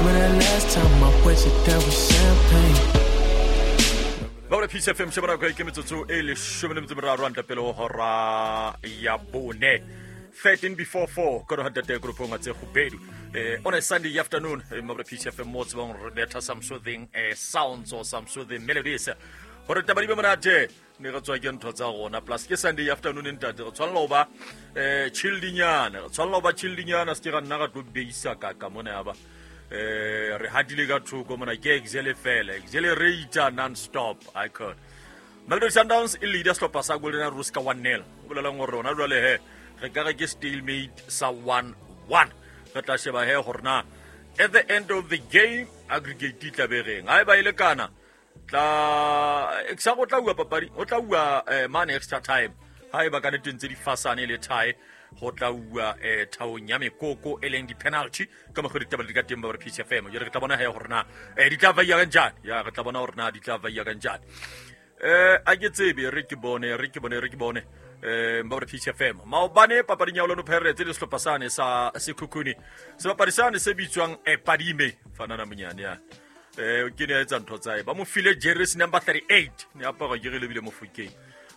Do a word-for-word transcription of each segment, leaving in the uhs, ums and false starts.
Remember that last time I wet you down with champagne. Ba Peace F M shebana go ke metsotso e leshome le metso e meraro hantle pele ho hora ya bone. thirteen before four ka hore ntate groupong tse kgubedu eh on a Sunday afternoon eh mabra Peace F M mo tsebang re betha some soothing eh sounds or some soothing melodies hore taba di be monate ne re tswa ke ntho tsa rona plus ke Sunday afternoon ntate re tshwanela ho ba eh chilldinyana re tshwanela ho ba chilldinyana se ke ra nna ra tlo beisa ka ka mona ya ba eh re hadile ka thoko mona ke excel fela accelerator non stop I could Mamelodi Sundowns e leader sehlopha sa Golden Arrows ka one nil o bolelang hore rona jwale he re ka re ke stalemate sa one one re tla sheba he hore na at the end of the game aggregate e tla be reng ha e ba ile kana tla exa go tla bua papadi o tla bua mane extra time ha e ba ka nnete ntse di fasane le tie go tla bua eh thaong ya mekoko e leng di penalty ka mokgwa ditaba di ka teng ba re P C F M jare re tla bona he hore na eh di tla vaiya kanjani ya re tla bona hore na di tla vaiya kanjani eh a ke tsebe re ke bone re ke bone re ke bone eh ba re P C F M maobane papading ya Orlando Pirates le sehlopha sane sa Sekhukhune sebapadi sane se bitswang Padime fanana monyane ya eh ke ne etsa ntho tsa ba mo file jersey number thirty-eight ne apara ke re lebile Mofokeng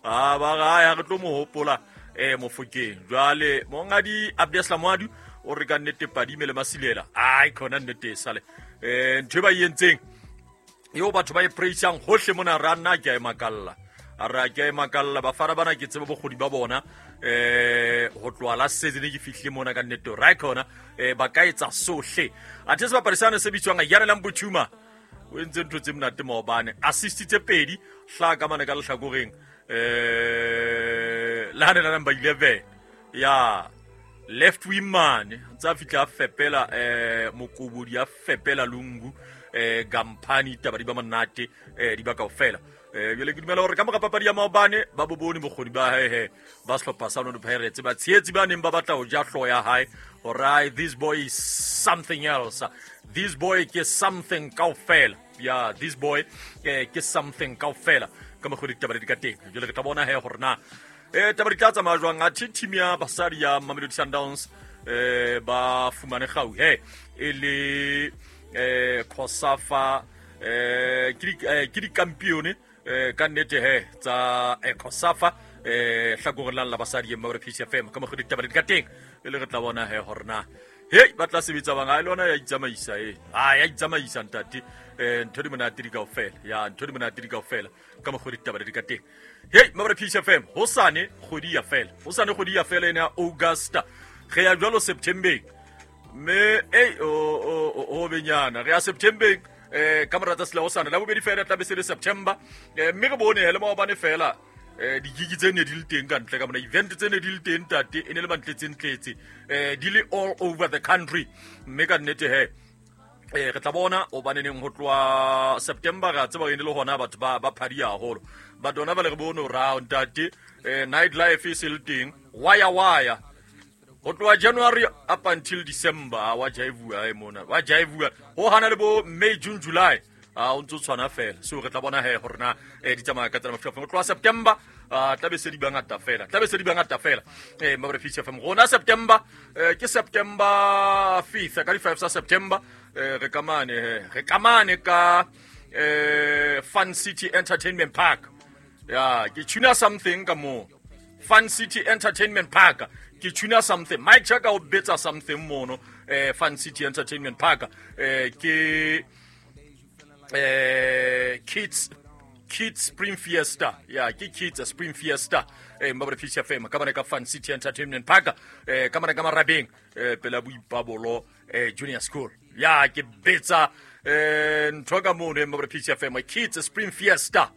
ah ba ga ya re tlo mo hopola eh Mofokeng jwale mongadi Abdeslam Wadu o re ka nnete Padime le Masilela ai khona nnete sale eh ntho ba yentseng eo batho ba e praisang hohle mona ra nna ke a e makalla a re ke a e makalla bafana bana ke tseba bokgoni ba bona eh ho tloha la season ke fihlile mona ka nnete ra khona eh ba ka etsa sohle athe sebapadi sane se bitswang Yarelang Botshuma o entse ntho tse monate maobane assist tse pedi hla ka mane ka lehlakoreng eh la hane la number eleven ya left wing man tsa fihla fepela eh mokobodi ya fepela lungu eh gampani taba di ba monate eh di ba kaofela eh jwale ke dumela hore ka mora papadi ya maobane ba bobone bokgoni ba hae he ba sehlopha sa Orlando Pirates ba tshehetsi ba neng ba batla ho ja hloho ya hae hore this boy is something else this boy ke something kaofela ya this boy eh ke something kaofela ka mokgwa ditaba di ka teng jwale re tla bona he hore na eh taba di tla tsamaya jwang athe team ya basadi ya Mamelodi Sundowns eh ba fumane kgau he e le eh Kosafa eh ke di campione eh ka nnete he tsa Kosafa eh hlakoreng la basadi ya P C F M ka mokgwa ditaba di ka teng e le re tla bona he hore na hei ba tla sebetsa bang ha le ona ya itsamaisa e ha ya itsamaisa ntate eh ntho di monate di kaofela ya ntho di monate di kaofela ka mokgwa ditaba di ka teng hei Mabra P C F M hosane kgwedi ya fela hosane kgwedi ya fela ena ya August re ya jwalo September mme ei o o benyana re ya September eh ka mora tsatsi la hosane la bobedi fela tla be se le September mme re bone hele maobane fela eh digigi tse ne di le teng ka ntle ka mona event tse ne di le teng tate e ne le mantletse ntletse eh di le all over the country mme ka nnete he eh re tla bona o baneneng ho tloha September ra tseba ene le hona batho ba ba phadi haholo but ona ba le re bone round tate eh night life e se le teng waya waya ho tloha January up until December wa jaivua e mona wa jaivua ho hana le bo May June July a o ntso tshwana fela so re tla bona he hore na eh di tsamaya ka tsela mafika ho tloha September a tla be se di bangata fela tla be se di bangata fela eh Mabra P C F M rona September ke September fifth ka di five sa September re kamane re kamane ka eh Fun City Entertainment Park ya ke tuna something ka mo Fun City Entertainment Park ke tuna something Mike Chaka o betsa something mono eh Fun City Entertainment Park eh ke eh kids Kids Spring Fiesta ya ke Kids Spring Fiesta eh Mabra P C F M ka bana ka Fun City Entertainment Park eh ka bana ka Marabeng eh pela Boipabolo eh Junior School ya ke betsa eh ntho ka mono Mabra P C F M Kids Spring Fiesta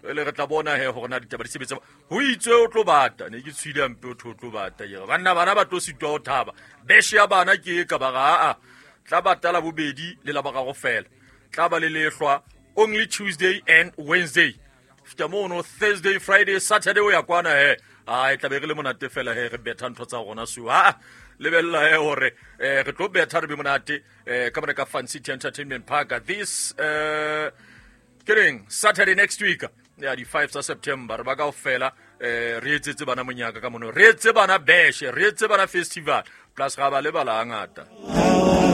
le re tla bona he hore na ditaba di sebetsa ho itswe o tlo bata ne ke tshwile mpe o tlo bata ke banna bana ba tlo sitwa ho thaba beshe ya bana ke ka ba ga a tla batala bobedi le la ba ga go fela tla ba le lehlwa only Tuesday and Wednesday fita mono Thursday Friday Saturday o ya kwana he a e tla be re le monate fela he re betha ntho tsa rona so ha lebella he hore re tlo betha re be monate ka bana ka Fun City Entertainment Park this uh kereng Saturday next week ya di five tsa September re ba kaofela eh re etsetse bana monyaka ka mono re etse bana beshe re etse bana festival plus ga ba lebala ngata.